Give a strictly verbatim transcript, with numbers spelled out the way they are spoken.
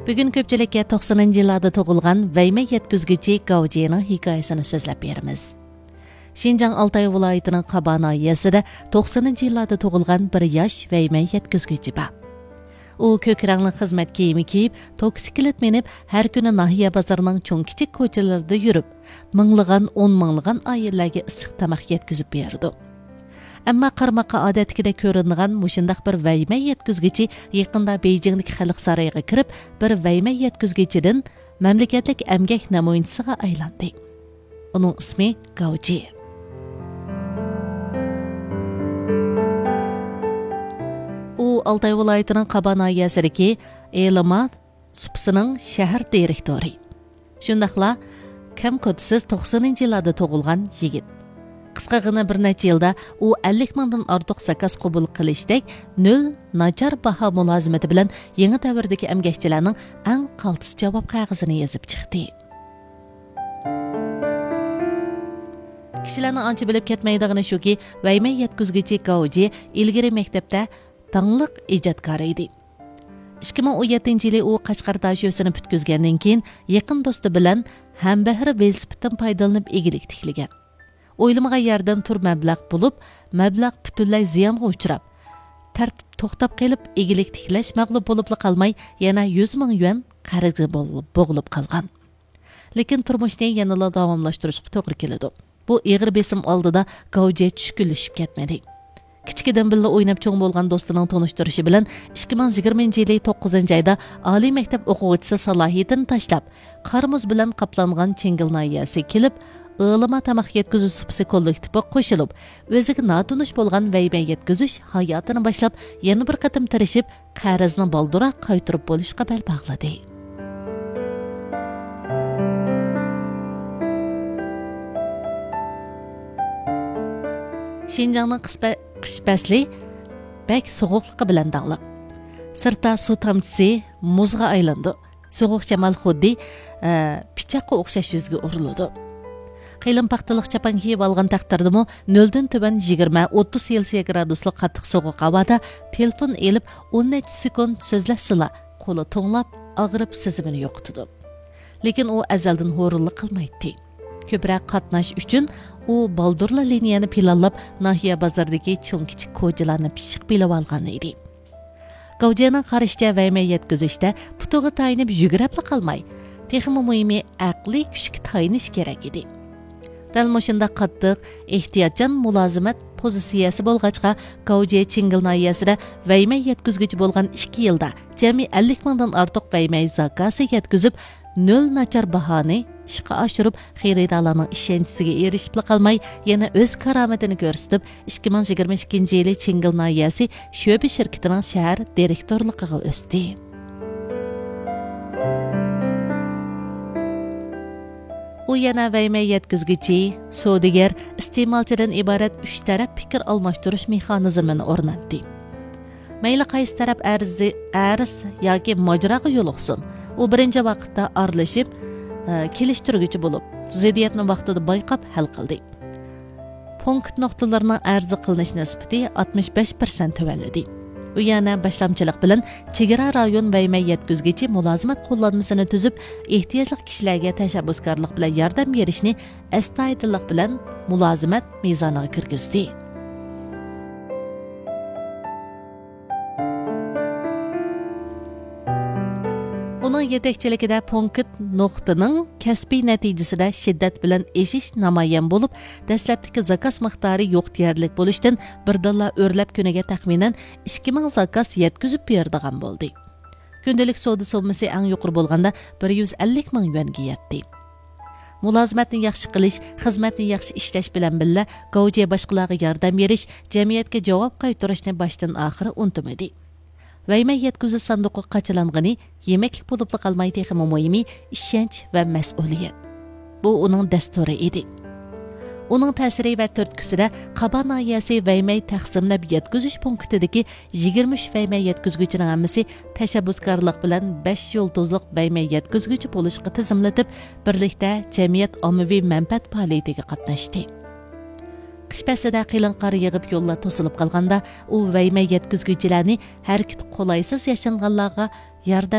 بۈگۈن كۆپچىلىككە توقسىنىنچى يىللاردا تۇغۇلغان ۋەيمەي يەتكۈزگۈچى گاۋجيېنىڭ ھېكايىسىنى سۆزلەپ بېرىمىز. شىنجاڭ ئالتاي ۋىلايىتىنىڭ قابا ناھىيەسىدە توقسىنىنچى يىللاردا تۇغۇلغان بىر ياش ۋەيمەي يەتكۈزگۈچى بار. ئۇ كۆك رەڭلىك خىزمەت كىيىمى كىيىپ، توكسىكلىت مىنىپ، ھەر كۈنى ناھىيە بازىرىنىڭ چوڭ-كىچىك كوچىلىرىدا يۈرۈپ، مىڭلىغان، ئون مىڭلىغان ئائىلىلەرگە ئىسسىق تاماق يەتكۈزۈپ بېرىدۇ. ئەمما قارىماققا ئادەتتىكىدەك كۆرۈنىدىغان مۇشۇنداق بىر ۋەيمەي يەتكۈزگۈچى يېقىندا بېيجىڭدىكى خەلق سارىيىغا كىرىپ، بىر ۋەيمەي يەتكۈزگۈچىدىن مەملىكەتلىك ئەمگەك نەمۇنىچىسىغا ئايلاندى. ئۇنىڭ ئىسمى گاۋجى. ئۇ ئالتاي ۋىلايىتىنىڭ قابا ناھىيەسىدىكى ئېلىما سۇپىسىنىڭ شەھەر دىرېكتورى. شۇنداقلا كەم-كۆتىسىز توقسىنىنچى يىللاردا تۇغۇلغان يىگىت. قىسقىغىنە بىر نەچچە يىلدا ئۇ ئەللىك مىڭدىن ئارتۇق زاكاز قوبۇل قىلىشتەك نۆل ناچار باھا مۇلازىمىتى بىلەن يېڭى دەۋردىكى ئەمگەكچىلەرنىڭ ئەڭ قالتىس جاۋاب قەغىزىنى يېزىپ چىقتى. كىشىلەرنىڭ ئانچە بىلىپ كەتمەيدىغىنى شۇكى، ۋەيمەي يەتكۈزگۈچى گاۋجى ئىلگىرى مەكتەپتە داڭلىق ئىجادكار ئىدى. ئىككى مىڭ ئون يەتتىنچى يىلى ئۇ قەشقەر داشۆسىنى پۈتكۈزگەندىن كېيىن، يېقىن دوستى بىلەن ھەمبەھىر ۋېلىسىپىتتىن پايدىلىنىپ ئىگىلىك تىكلىگەن. ئويلىمىغان يەردىن تۈر مەبلەغ بولۇپ، مەبلەغ پۈتۈنلەي زىيانغا ئۇچراپ، تەرتىپ توختاپ قېلىپ، ئىگىلىك تىكلەش مەغلۇپ بولۇپلا قالماي، يەنە يۈز مىڭ يۈەن قەرزگە بول-، بوغۇلۇپ قالغان. لېكىن تۇرمۇشنى يەنىلا داۋاملاشتۇرۇشقا توغرا كېلىدۇ. بۇ ئېغىر بېسىم ئالدىدا گاۋجى چۈشكۈنلىشىپ كەتمىدى. كىچىكىدىن بىللە ئويناپ چوڭ بولغان دوستىنىڭ تونۇشتۇرۇشى بىلەن ئىككى مىڭ يىگىرمىنچى يىلى توققۇزىنچى ئايدا ئالىي مەكتەپ ئوقۇغۇچىسى سالاھىيىتىنى تاشلاپ، قار-مۇز بىلەن قاپلانغان چىڭگىل ناھىيەسىگە كېلىپ، ئىلىما تاماق يەتكۈزۈش سۇپىسى كوللېكتىپىغا قوشۇلۇپ، ئۆزىگە ناتونۇش بولغان ۋەيمەي يەتكۈزۈش ھاياتىنى باشلاپ، يەنە بىر قېتىم تىرىشىپ، قەرزنى بالدۇرراق قايتۇرۇپ بولۇشقا بەل باغلىدى. شىنجاڭنىڭ قىسپە-، قىش پەسلى بەك سوغۇقلۇقى بىلەن داڭلىق. سىرتتا سۇ تامچىسى مۇزغا ئايلىنىدۇ. سوغۇق شامال خۇددى، ئە، پىچاققا ئوخشاش يۈزگە ئۇرۇلىدۇ. قېلىن پاختىلىق چاپان كىيىپ ئالغان تەقدىردىمۇ، نۆلدىن تۆۋەن يىگىرمە، ئوتتۇز سېلسىيە گرادۇسلۇق قاتتىق سوغۇق ھاۋادا تېلېفون ئېلىپ، ئون نەچچە سېكۇنت سۆزلەشسىلا، قولى توڭلاپ، ئاغرىپ، سېزىمىنى يوقىتىدۇ. لېكىن ئۇ ئەزەلدىن ھۇرۇنلۇق قىلمايتتى. كۆپرەك قاتناش ئۈچۈن ئۇ بالدۇرلا لىنىيەنى پىلانلاپ، ناھىيە بازىرىدىكى چوڭ-كىچىك كوچىلارنى پىششىق بىلىۋالغان ئىدى. گاۋجيەنىڭ قارىشىچە، ۋەيمەي يەتكۈزۈشتە پۇتىغا تايىنىپ يۈگۈرەپلا قالماي، تېخىمۇ مۇھىمى ئەقلىي كۈچكە تايىنىش كېرەك ئىدى. دەل مۇشۇنداق قاتتىق، ئېھتىياتچان مۇلازىمەت پوزىتسىيەسى بولغاچقا، گاۋجيې چىڭگىل ناھىيەسىدە ۋەيمەي يەتكۈزگۈچى بولغان ئىككى يىلدا جەمئىي ئەللىك مىڭدىن ئارتۇق ۋەيمەي زاكازى يەتكۈزۈپ، نۆل ناچار باھانى ئىشقا ئاشۇرۇپ، خېرىدارلارنىڭ ئىشەنچىسىگە ئېرىشىپلا قالماي، يەنە ئۆز كارامىتىنى كۆرسىتىپ، ئىككى مىڭ يىگىرمە ئىككىنچى يىلى چىڭگىل ناھىيەسى شۆبە شىركىتىنىڭ شەھەر دىرېكتورلۇقىغا ئۆستى. ئۇ يەنە ۋەيمەي يەتكۈزگۈچى، سودىگەر، ئىستېمالچىدىن ئىبارەت ئۈچ تەرەپ پىكىر ئالماشتۇرۇش مېخانىزمىنى ئورناتتى. مەيلى قايسى تەرەپ ئەرزى-، ئەرز ياكى ماجىراغا يولۇقسۇن، ئۇ بىرىنچى ۋاقىتتا ئارىلىشىپ، ئە، كېلىشتۈرگۈچى بولۇپ، زىددىيەتنى ۋاقتىدا بايقاپ ھەل قىلدى. پونكىت نۇقتىلىرىنىڭ ئەرز قىلىنىش نىسبىتى ئاتمىش بەش پىرسەنت تۆۋەنلىدى. ئۇ يەنە باشلامچىلىق بىلەن چېگرا رايون ۋەيمەي يەتكۈزگۈچى مۇلازىمەت قوللانمىسىنى تۈزۈپ، ئېھتىياجلىق كىشىلەرگە تەشەببۇسكارلىق بىلەن ياردەم بېرىشنى ئەستايىدىللىق بىلەن مۇلازىمەت مىزانىغا كىرگۈزدى. ئۇنىڭ يېتەكچىلىكىدە پونكىت نۇقتىنىڭ كەسپىي نەتىجىسىدە شىددەت بىلەن ئېشىش نامايان بولۇپ، دەسلەپتىكى زاكاز مىقدارى يوق دېيەرلىك بولۇشتىن، بىردىنلا ئۆرلەپ كۈنىگە تەخمىنەن ئىككى مىڭ زاكاز يەتكۈزۈپ بېرىدىغان بولدى. كۈندىلىك سودا سوممىسى ئەڭ يۇقىرى بولغاندا بىر يۈز ئەللىك مىڭ يۈەنگە يەتتى. مۇلازىمەتنى ياخشى قىلىش، خىزمەتنى ياخشى ئىشلەش بىلەن بىللە، گاۋجيې باشقىلارغا ياردەم بېرىش، جەمئىيەتكە جاۋاب قايتۇرۇشنى باشتىن ئاخىر ئۇنتۇمىدى. ۋەيمەي يەتكۈزۈش ساندۇقىغا قاچىلانغىنى يېمەكلىك بولۇپلا قالماي، تېخىمۇ مۇھىمى، ئىشەنچ ۋە مەسئۇلىيەت. بۇ ئۇنىڭ دەستۇرى ئىدى. ئۇنىڭ تەسىرى ۋە تۈرتكىسىدە قابا ناھىيەسى ۋەيمەي تەقسىملەپ يەتكۈزۈش پونكىتىدىكى يىگىرمە ئۈچ ۋەيمەي يەتكۈزگۈچىنىڭ ھەممىسى تەشەببۇسكارلىق بىلەن بەش يۇلتۇزلۇق ۋەيمەي يەتكۈزگۈچى بولۇشقا تىزىملىتىپ، بىرلىكتە جەمئىيەت ئاممىۋى مەنپەئەت پائالىيىتىگە قاتناشتى. قىش پەسلىدە قېلىن قار يېغىپ، يوللار توسۇلۇپ قالغاندا، ئۇ ۋەيمەي يەتكۈزگۈچىلەرنى ھەرىكىتى قولايسىز ياشانغانلارغا ياردەم